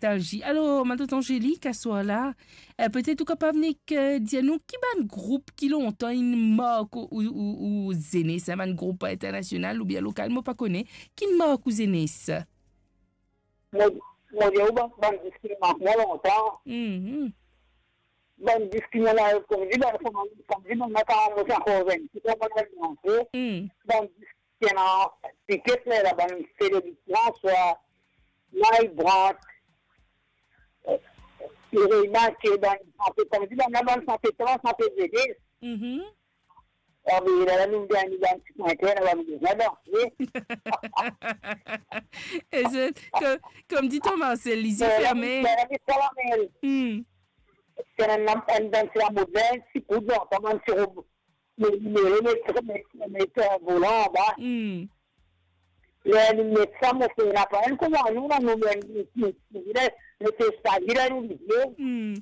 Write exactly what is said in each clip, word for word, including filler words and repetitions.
nostalzi. Alor, ma tante Angélique, aswar la, eh, petet ou kapav nek, eh, dir nou ki bann group ki lontan inn mark ou, ou, ou, ou zenes, eh, bann group internasional oubien lokal, mo pa kone, ki inn mark ou zenes? Mo, mo dir ou bann, bann disk ki mark mwa lontan. Mhm. Bann disk ki mo ena, kouma dir, bann, kouma, kouma dir, bann, mo ti ankor zenn, ti kouma mo ena, Mm. bann disk ki ena tiket la, la bann Federic François, Mike Brandt, eh, Mireille Mathieu, bann sante, kouma dir, bann la, bann sante, sante zenes. Mhm. Ah, me la, la, nou dan, nou dan ti pwinter, la, nou bizin danse. E zot, ko-, kouma dir Thomas Marcel, lizie ferme. Mikael Amel. Hmm. Ti ena enn, enn dans lamod la, ti kout, non, kouma dir, ti rob, me, me, me, me, me, me, volan anba. Hmm. Ler li met sa, mo fer, ena pa enn kouma nou la, nou, nou, nou, nou, nou, nou, nou, nou, nou, nou, nou, nou, Hmm.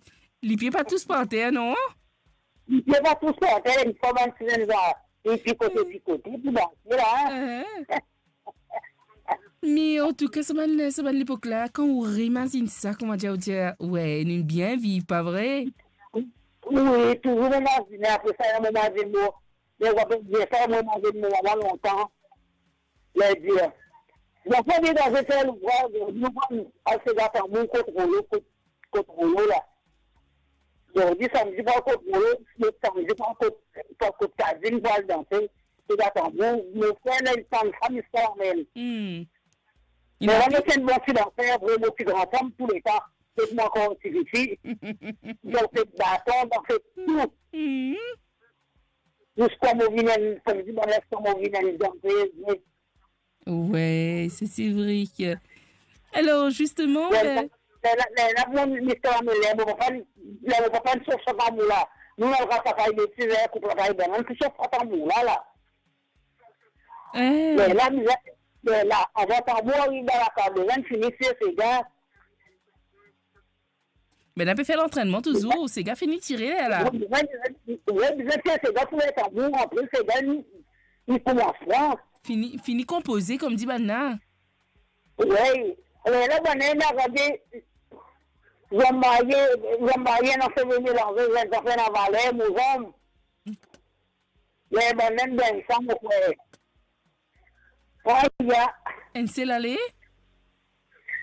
Lipie pa tous par ter, non? Lipie pa tous par ter, li fer bann ti zenn la, li pikote, pikote, pou danse la, hein. Ehe. Me antouka, sa bann, sa bann lepok la, kan ou reimazinn sa, kouma dir, ou dir, we, nou bien viv, pa vre? Wi, touzour mo imazine, apre sa, mo imazine mo, mo, mo, mo, mo, mo, mo, mo, mo, mo, lontan. Ler dir, zanfan de dan zetel louvraz, nou pran al sega tanbou kot Rolo, kot, kot Rolo la. Zordi, samdi, pran kot Rolo, lot samdi, pran kot, pran kot Kazim, pran al danse, sega tanbou. Mo frer, ler li tann sa, li sa lamel. Hmm. Mo, mo ti enn bon ti danser, vre, mo ti gran fanm touletan. Kot mo ankor ti tifi, dan fet baton, dan fet tou. Hmm. Ziska mo vinn enn, kouma dir, ziska mo vinn enn danser, me We, se, se vre ke, alor, zisteman, ler, eh, ler, ler, ler, ler, mo, mister Amel, ler mo papa, ler mo papa inn sof sa tanbou la. Nou, nou al ras lakaz, me ti ler koup lakaz, bann, nou ti sof sa tanbou la, la. Eh. Ler la, ler, ler la, avan tanbou ariv dan lakaz, bizin fini tire sega. Be, nou pe fer lantrennman touzour, sega fini tire la. Wi, bizin, bizin, wi, bizin fer sega pou tanbou, apre sega, li, li koumans pran. Fini, fini konpoze, kouma dir bann la. Wi, ler la, bann la, inn arive, zom marye, zom marye, ena seve melanze, zom zafer ena valer, mo zom. Ler bann la inn gagn sa, mo frer. Aya. Enn sel ale?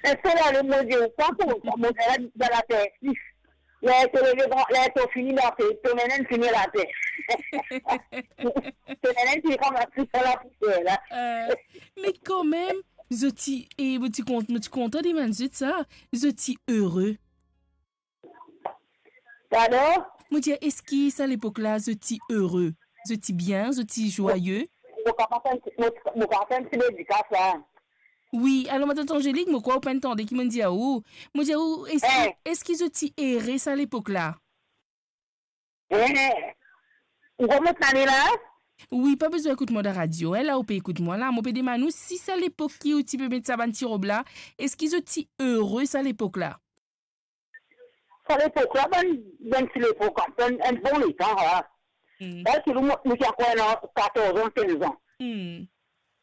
Enn sel ale, mo dir ou, pa koz sa, mo dir la, dan later. Ler to leve, ler to fini later, to nene fini later. To nene fini koumans pran lapousier la. Eh, me kanmem, zot ti, e, mo ti kont-, mo ti kontan demann zot sa, zot ti ere? Pardon? Mo dir, eski sa lepok la, zot ti ere? Zot ti bien, zot ti zwaye? Mo kapav fer enn ti, mo, mo kapav fer enn ti dedikas la. Wi, alor, ma tante Angélique, mo krwar ou pa'nn tande ki mo'nn dir ou. Mo dir ou, eski, Eh. eski zot ti ere sa lepok la? Eh. Ou konpran sa la? Wi, pa bizin ekout mwa dan radio, eh, la ou pe ekout mwa la. Mo pe demann ou si sa lepok ki ou ti pe met sa bann ti rob la, eski zot ti ere sa lepok la? Sa lepok la, bann, bann ti lepok, bann, enn bon letan, ha. Hmm. Sa, ti nou, nou ti ankor ena katorz an, kinz an. Hmm.